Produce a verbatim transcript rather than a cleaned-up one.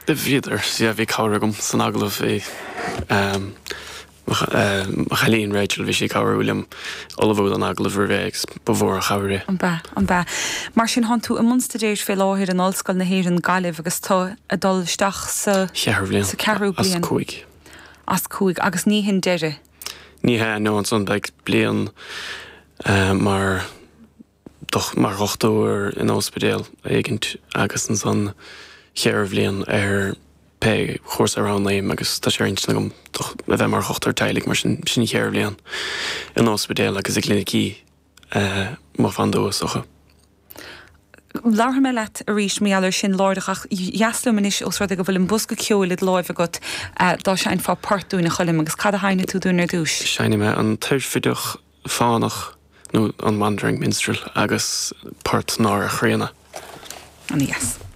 Bhíodar yeah, bhí cabhair agam san agallamh bhí um, mo chailín Rachel bhí sí ag cabhrú liom ullmhú don agallamh roimhe agus ba mhór an chabhair é. An b'ea an b'ea. Mar sin tánn tú i mbun staidéir fé láthair in Ollscoil na hÉireann Gaillimh agus tú ag dul isteach sa Cheathrú bhliain sa ceathrú as bliain cúig. as cúig agus ní hin deireadh. Ní hea nó ansan beidh bliain uh, mar doch mar dhochtúir in ospidéal éigint agus ansan ceithre bhliain ar pé chúrsa a roghnaím agus tá sé ar intinn agam a bheith mar dhochtúir teaghlaigh mar sin sin ceithre bhliain in ospidéal agus i gclinicí uh, má fan socha. Labharfaidh mé leat arís mar gheall air sin láithreach ach dheas liom anois os rud é go bhfuil an bosca ceoil i do láimh agat dá seinnfeá port dúinn a Choilm agus cad a sheinnfidh tú dúinn ar dtús. Seinnfidh mé an Oirfideach Fánach nó an Wandering Minstrel agus port Náire Chríonna. An dheas.